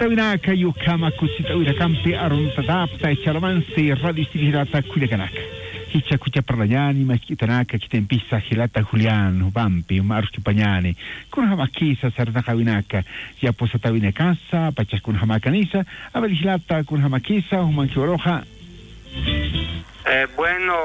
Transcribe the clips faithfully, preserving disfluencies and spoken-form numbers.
Winaka, ukhama kusisit'awinakampi aruntatapta, chalamansi radio ist'iri jilata kullakanaka. Jichha kuchaparlañani mask'itanaka, khitimpisa jilata Julián jupampi juma arsukipañani. Kunjamakisa sarnaqawinaka, yapusatawinakasa, pachak kunjamakanisa, a ver jilata, kunjamakisa, jumankiw aruxa. Eh, bueno,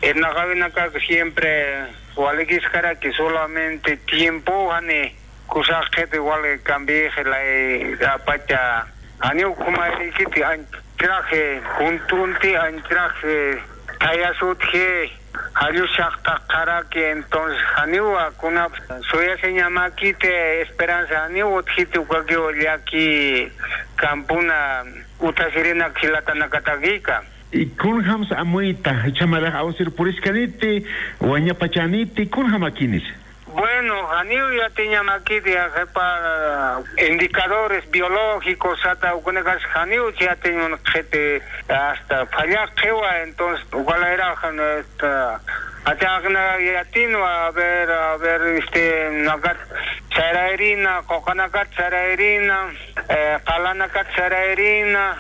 irnaqawinakax siempre walikiskaraki, solamente tiempo jani kusaqxiti wali cambiixi lay apacha, janiw ukhamayrikiti anchhiraxi juntunti, anchhiraxi thayasutji, jallusaqtaqaraki, entonces janiwa kunap suyasiñamakiti esperanza, janiw utjiti ukakiw llaki campona uthasirinak jilatanakatakika. Y kunjams amuyta, jichha marax awsir puriskaniti, wañapachaniti, kunjamakinis. Bueno, janiw yatiñamakiti, qhipa indicadores biológicos sata, ukunakax janiw yatiñ munxiti, hasta fallaqxiwa, entonces, ukalayrax, esta, achaqna yatinwa, a ver, a ver, este, nakat sarayrina, quqanakat sarayrina, eh, qalanakat sarayrina,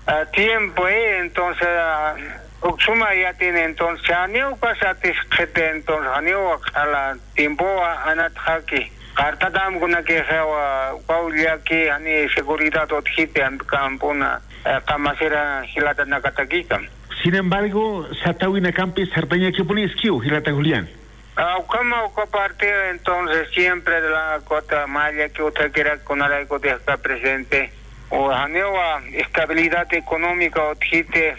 ah, tiempo, eh, entonces, ah, uksuma yatin, entonces, janiw pasatix qhiti, entonces, janiw q'ala tiempowa anatxaki. Qartatam kunakixiwa, ukaw llaki, jani seguridad utjiti, ant campona, eh, qamasira jilatanakatakika. Sin embargo, satawinakampi sartañakipuniskiw, jilata Julián. Ah, ukhama uka parte, entonces, siempre de la cuota maya que utjakirak kunarayku deja presente. O janiwa estabilidad económica utjiti,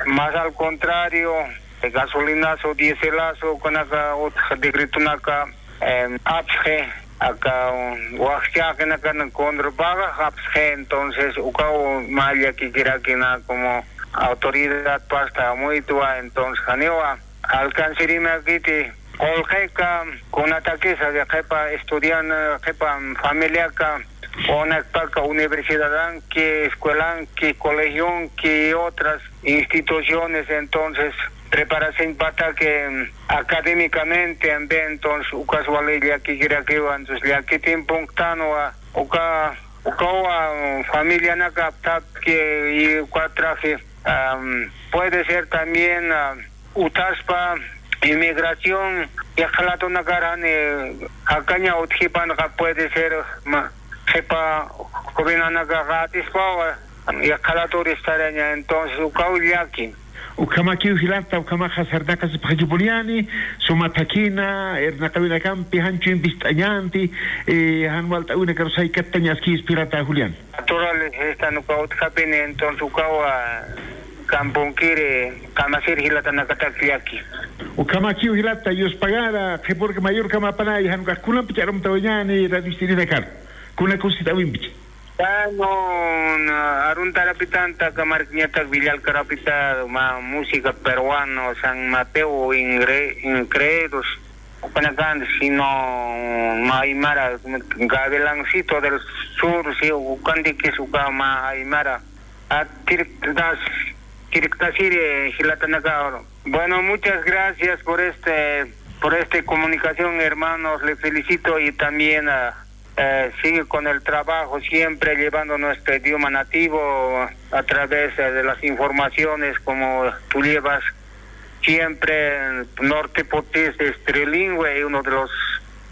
más al contrario, gasolinazo, diéselazo, kunaka utja decretonaka, em, apsxi, aka, um, waxchaqinakan contra paga, apsxi, entonces, ukaw maya kikirakina como autoridad pasta amuytwa, entonces, janiwa alcancirimakiti, qullqika, kunatakisa de qhipa estudian, qhipa familiaka, unakpaka universidadanki, escuelanki, colegionki y otras instituciones, entonces, preparación pataki, mm, académicamente, ambe, entonces, ukas wali llakikirakiwa, entonces, llaki tiemponktanwa, uka, ukawa, mm, familianaka aptaki, y uka traje, am, puede ser también, ah, utaspa inmigración, yaqhalatunakarani, jakaña utjipanqa puede ser, ma, qhipa jovenanaka qatispawa, yaqhalaturis saraña, entonces, ukaw llaki. Ukhamakiw jilata, ukhamaxa sarnaqasipxakipuniyani, suma thakina, irnaqawinakampi, janchu impist'añanti, eh, jan walt'awinakaru saykattañaskispi jilata Julián. Naturales, esta nuka utjapini, entonces ukawa camponkiri, qamasir jilatanakatak llaki. Ukhamakiw jilata, yuspagara, qhipurka mayurkamapanay, jan ukax kunampi ch'arumtawañani, radio ist'irinakar. Kuna kusisit'awimpichi. Bueno, na, aruntarapitanta, kamarkiñatak villalkarapita, ma, música peruano, San Mateo, Ingre-, Incredos, ukanakanta, sino, ma, aymara, Gavilancito del Sur, si, ukantikis, uka, ma, aymara. A, tiriktas, tiriktasiri, jilatanaka. Bueno, muchas gracias por este, por este comunicación, hermanos. Le felicito y también, ah, eh, sigue con el trabajo, siempre llevando nuestro idioma nativo a través, eh, de las informaciones como tú llevas. Siempre, eh, norte pottés es trilingüe, y uno de los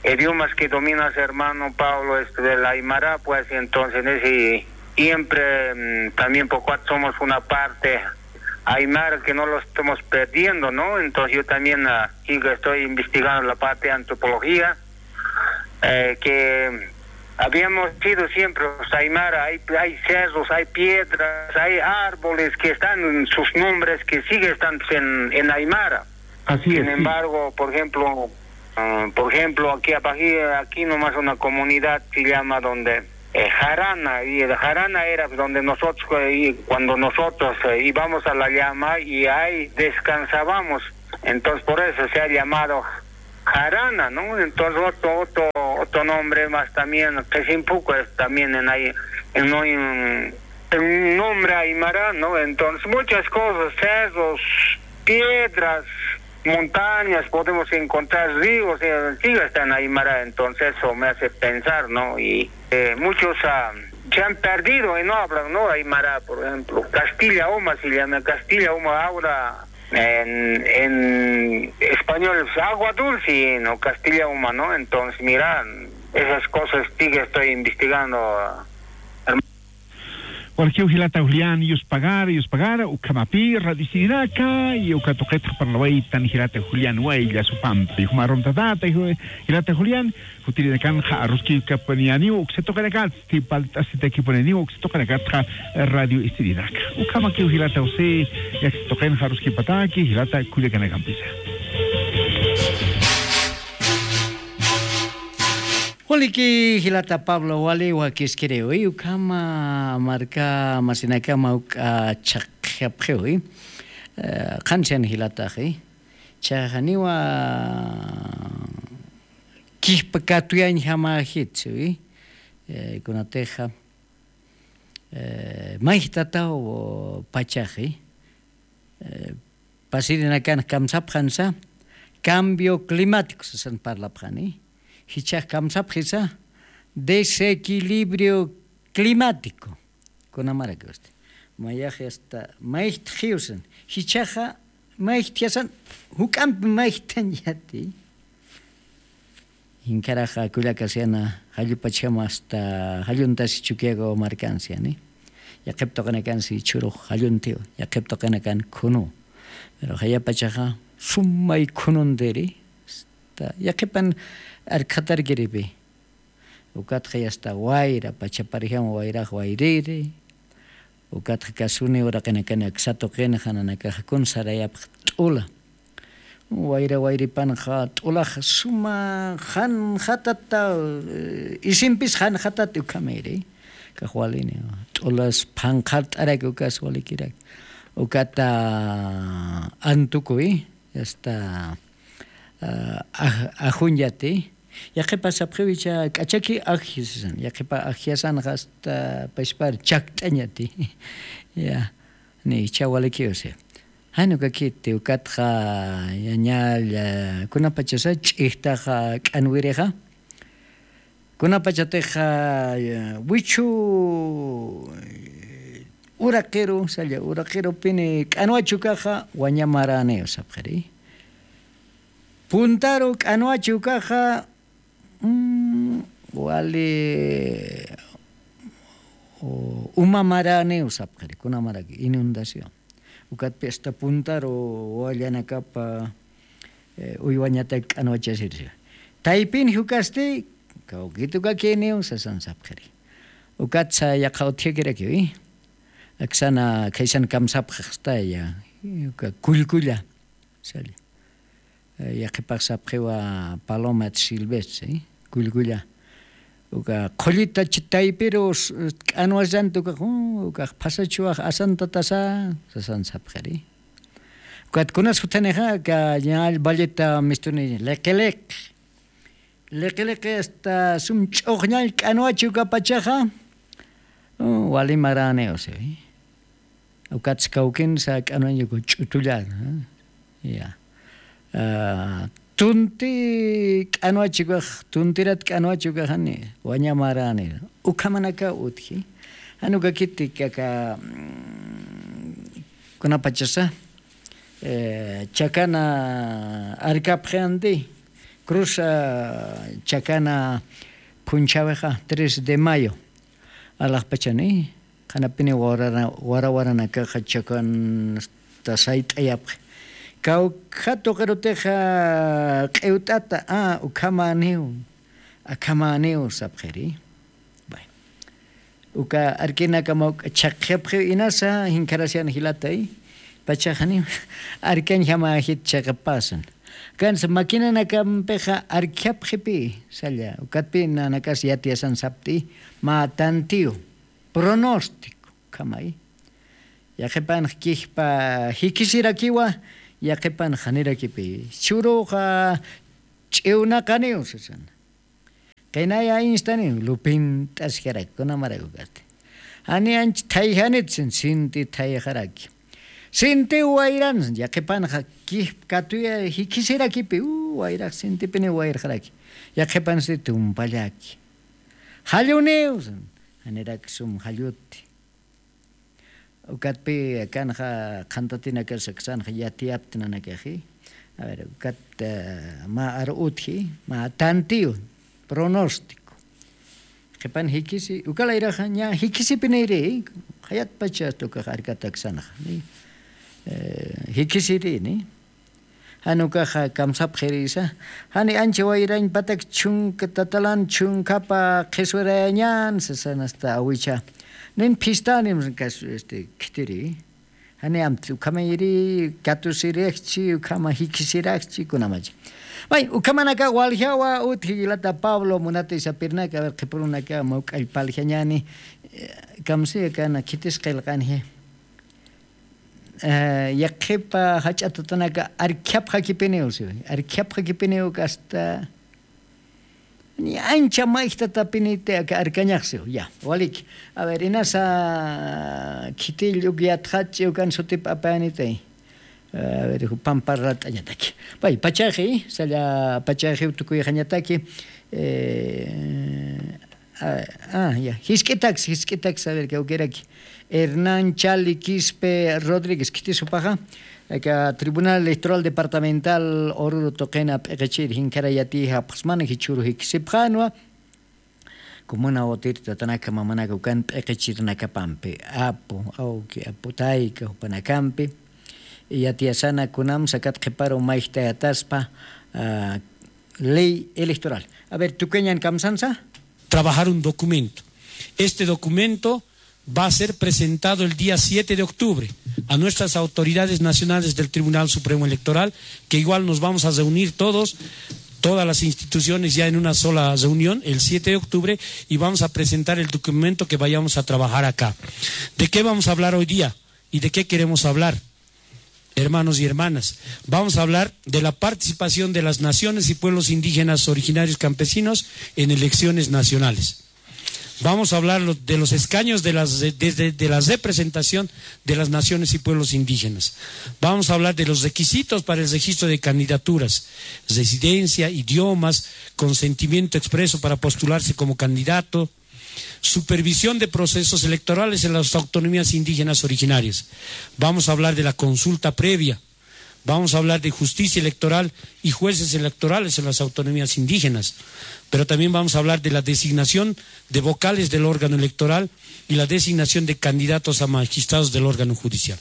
idiomas que dominas, hermano Pablo, es el aymara, pues, entonces, en ese, siempre, mm, también por cuanto somos una parte aymara que no lo estamos perdiendo, ¿no? Entonces, yo también, ah, sigo, estoy investigando la parte de antropología, eh, que habíamos sido siempre los aymara, hay, hay cerros, hay piedras, hay árboles que están, sus nombres que sigue están en, en aymara. Así es, sí. Sin embargo, por ejemplo, ah, por ejemplo, aquí abajo, aquí nomás una comunidad se llama donde, eh, Jarana, y el Jarana era donde nosotros, eh, y cuando nosotros, eh, íbamos a la llama y ahí descansábamos. Entonces, por eso se ha llamado Jarana, ¿no? Entonces, otro, otro, otro nombre más también, Qhisimpuku es también en ahí, en un, en un nombre aymara, ¿no? Entonces, muchas cosas, cerros, piedras, montañas, podemos encontrar ríos, eh, sí, está en aymara, entonces eso me hace pensar, ¿no? Y, eh, muchos, ah, se han perdido y no hablan, ¿no? Aymara, por ejemplo. Castilla Uma se llama, Castilla Uma ahora en, en español es agua dulce, ¿no? Castilla Uma, ¿no? Entonces, mira, esas cosas sí que estoy investigando, hermano. Walkiw jilata Julián, yuspagar, yuspagar, ukhamapi, radio Sirinaka, y uka tuqitxa parlawaytan jilata Julián, waylla supampi, jumarum tatata, jilata Julián, jutirinakanxa aruskikapaniyaniw, uksa tuqinakatsti, palt'asitakipaniyaniw, uksa tuqinakatxa radio Sirinaka. Ukhamakiw jilata José, yaksa tuqinxa aruskipataki, jilata kullakanakampisa. Waliki jilata Pablo, wali wakiskiriwi, ukhama marka masinakama uk'a chhaqjapxiwi, eh, qhansian jilataxi, chhaqaniwa kijpa katuyañjamajitsi, eh, kunatixa, eh, mayjtataw pachaxi, eh, pasirinakan kamsapxansa, cambio climático sasan parlapxani, jichhax kamsapxisa, desequilibrio climático. Kunamarakiwasti. Mayax hasta mayjtxiwsan. Jichhaxa mayjtjasan, juk'ampi mayjthañati. Jinkaraxa kullakasiana, jallupachjama hasta jalluntasi Chukiyaga markansiani. Yaqhip tuqinakansi chhurux jalluntiw, yaqhip tuqinakan khunu. Pero jayapachaxa sumay khununtiri. Hasta yaqhipan arkhatarkiripi. Ukatxa yasta wayra, pachaparjama wayrax wayriri. Ukatxa kasuni uraqinakani aksa tuqinxa nanakaxa kun sarayapx t'ula. Wayra wayripanxa t'ulax suma janxatata, eh, isimpis janxatat ukhamiri. Kax walini. T'ulas phanqhart'arak ukas walikirak. Ukata antukuy, yasta, ah, aj-, ajuñati. Yaqhipa sapxiwicha k'achaki ajji sasan. Yaqhipa ajjiasanxa hasta pachpar chakt'añati. Ya, ni ichha walikiw si. Jan ukakiti, ukatxa yañalla, kunapachasa ch'ijtaxa k'anwirixa. Kunapachatixa, ya, wichhu, eh, uraqiru, salla, uraqirupini k'anwachi ukaxa, wañamaräniw sapxiri. Puntaru k'anwachi ukaxa, mm, wali, u-, umamaräniw sapxiri, kunamaraki, inundación. Ukatpi hasta puntaru wallanakapa, eh, uywañatak k'anwachasirsi. Taypin jukasti, kawkit ukakiniw sasan sapxiri. Ukatsa yaqha utjakirakiwi. Aksana khaysan kamsapxaxtaya, uka kullkulla, salla. Eh, yaqhipax sapxiwa paloma silvestre, kullkulla. Uka qhullita ch-, taypiru s-, k'anwasanta ukax, uh, ukax phasachuwax asantatasa, sasan sapxiri. Ukat kunas juthanixa, ka ñall valleta mistuni, liqiliq. Liqiliqi hasta sum ch'uxñall k'anwachi ukapachaxa, uh, wali maräniw siwi. Ukatsa kawkinsa k'anwañuku ch'utullar, ¿no? Ya. Ah, tunti k'anwachi ukax, tuntirat k'anwachi ukaxani, wañamaräni. Ukhamanakaw utji. Jan ukakiti kaka, mm, kunapachasa, eh, chakana arkapxi anti, cruz, ah, chakana phunchhäwixa, tres de mayo. Alaxpachani, qhanapini warara-, warawaranakaxa chakan hasta sayt'ayapxi. Kawkha tuqirutixa q'iwt'ata, ah, ukhamäniw, akhamäniw sapxiri. Bueno. Uka arkinakama uk chhaqjapxiw inasa, jinkharasian jilatay. Pachaxaniw arkañjamäjit chhaqapasan. Kansa maquinanakampixa arkjapxipi, salla. Ukatpi nanakas yatiyasan sapti, mä tantiw. Pronóstico, khamay. Yaqhipanx kijpa jikisirakiwa, yaqhipanx janirakipi. Churuxa ch'iwnaqaniw sasan. Qinaya instaniw, lupint'askaraki, kunamarak ukasti. Jani anch thayjanit sin, sinti thayxaraki. Sinti wayran, yaqhipanxa kijp katuya jikisirakipi, u, wayrax sintipini wayrxaraki. Yaqhipansti tumpallaki. Jalluniw sin. Janirak sum jalluti. Ukatpï akanxa qhantatinakasa aksanxa yatiyapti nanakaxi. A ver, ukat, eh, mä aru utji, mä tantiyu, pronóstico. Qhipan jikisi, uka layraxa ña jikisipiniri, jayatpacha hasta ukax arkata aksanxa, ¿sí? Eh, jikisiri, ¿sí? Jan ukaxa kamsapxirisa, jani ancha wayrañ patak chunka tatalan chunkapa qhiswirayañän, sasan hasta awicha. Nin phistanim kas, este, khitiri. Jani amti ukhamayiri, katusiraxchi, ukhama jikisiraxchi, kunamacha. May, ukhamanaka waljawa, utji jilata Pablo, munati sapirnaka, a ver, qhipurunaka, mawk'all paljañäni, eh, kamsi akana, khitis qillqanji. Eh, yaqhipa jach'a tatanaka arkhiapxakipiniw, siw. Arkhiapxakipiniw hasta ni ancha mayjtatapiniti aka arkañax, siw. Ya, waliki. A ver, inasa khitill uk yatxach'i ukan sutip apayanitay. A ver, jupan parlat'añataki. Pay, pachaxi, salla pachaxiw tukuyxañataki. Eh, Ah, ah, ya. Jisk'itaks, jisk'itaks, a ver, kawkiraki. Hernán Chali Quispe Rodríguez, khitis jupaxa. Aka Tribunal Electoral Departamental Oruro tuqina p'iqichir, jinkharay yatiyapxasmana, jichhüru jikisipxänwa. Comuna Otir tatanaka mamanaka ukan p'iqichirnakapampi. Apu, awki, apu, tayka, jupanakampi. Yatiyasana kunamsa kat qhiparu mayjtayataspa, ah, ley electoral. A ver, tukuyañan kamsansa. Trabajar un documento. Este documento va a ser presentado el día siete de octubre a nuestras autoridades nacionales del Tribunal Supremo Electoral, que igual nos vamos a reunir todos, todas las instituciones ya en una sola reunión el siete de octubre y vamos a presentar el documento que vayamos a trabajar acá. ¿De qué vamos a hablar hoy día? ¿Y de qué queremos hablar? Hermanos y hermanas, vamos a hablar de la participación de las naciones y pueblos indígenas originarios campesinos en elecciones nacionales. Vamos a hablar lo- de los escaños de las, de, de- de la representación de las naciones y pueblos indígenas. Vamos a hablar de los requisitos para el registro de candidaturas, residencia, idiomas, consentimiento expreso para postularse como candidato, supervisión de procesos electorales en las autonomías indígenas originarias. Vamos a hablar de la consulta previa. Vamos a hablar de justicia electoral y jueces electorales en las autonomías indígenas. Pero también vamos a hablar de la designación de vocales del órgano electoral y la designación de candidatos a magistrados del órgano judicial.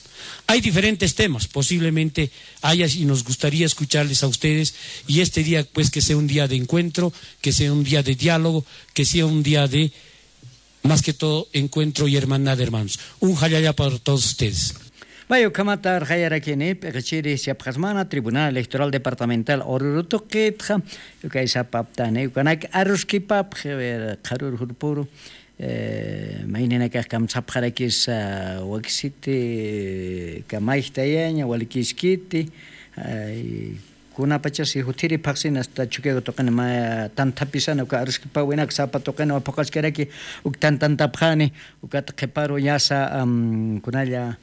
Hay diferentes temas, posiblemente haya y nos gustaría escucharles a ustedes y este día, pues, que sea un día de encuentro, que sea un día de diálogo, que sea un día de, más que todo, encuentro y hermandad, hermanos. Un jallalla para todos ustedes. Vaya, ukhamata arxayarakini, p'iqichiri siapxasmana, Tribunal Electoral Departamental Oruro tuqitxa, ukay sapaptani, ukanak aruskipapxi, a ver, qharür jurpuru, eh, mayninakax kamsapxarakis, ah, wakisiti, kamayjtayaña, walikiskiti, ay, kunapachasi juthiri phaxsin hasta Chukiyawu tuqin mä tanthapisana uka aruskipäwinak sapa tuqinwa phuqaskiraki uk tantantapxani, ukat qhiparu yasa, am, kunalla,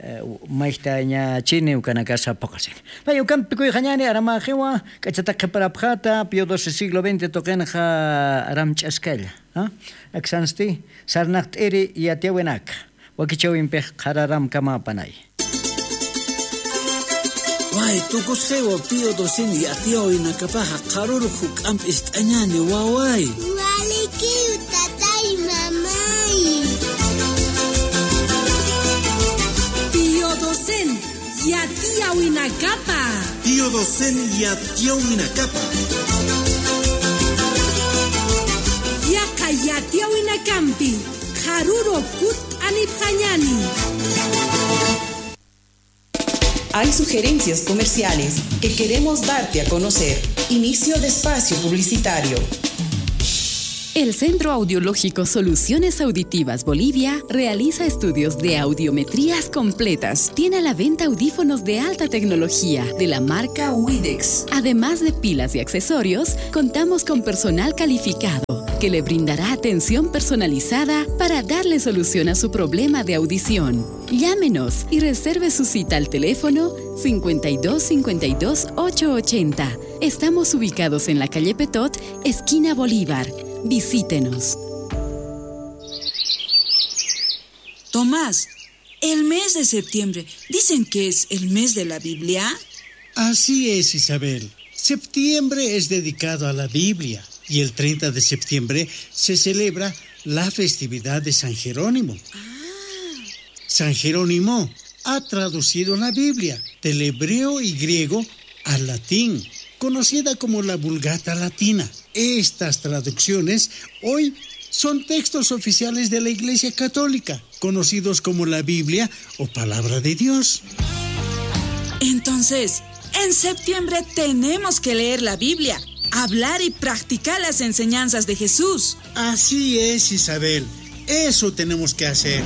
eh, mayjtañachini ukanakasa phuqasini. Pay ukampi kuyxañani aramäxiwa, k'achatak qhiparapxäta, Pío doce siglo veinte tuqinxa aram ch'askalla, ¿ah? Aksansti, sarnaqt'iri yatiyäwinaka. Wakichäwimpix qhararamkamapanay. Way, tukusxiwa Pío doce yatiyäwinakapaxa qharürux juk'amp ist'añäni, waway. Walikiw, tatay, mamay. Pío doce yatiyäwinakapa. Pío doce yatiyäwinakapa. Yaqha yatiyäwinakampi qharürux kutt'anipxañäni. Hay sugerencias comerciales que queremos darte a conocer. Inicio de espacio publicitario. El Centro Audiológico Soluciones Auditivas Bolivia realiza estudios de audiometrías completas. Tiene a la venta audífonos de alta tecnología de la marca Widex. Además de pilas y accesorios, contamos con personal calificado que le brindará atención personalizada para darle solución a su problema de audición. Llámenos y reserve su cita al teléfono cincuenta y dos cincuenta y dos ocho ochenta. Estamos ubicados en la calle Petot, esquina Bolívar. Visítenos. Tomás, el mes de septiembre, ¿dicen que es el mes de la Biblia? Así es, Isabel. Septiembre es dedicado a la Biblia y el treinta de septiembre se celebra la festividad de San Jerónimo. Ah. San Jerónimo ha traducido la Biblia del hebreo y griego al latín, conocida como la Vulgata Latina. Estas traducciones hoy son textos oficiales de la Iglesia Católica, conocidos como la Biblia o Palabra de Dios. Entonces, en septiembre tenemos que leer la Biblia, hablar y practicar las enseñanzas de Jesús. Así es, Isabel. Eso tenemos que hacer.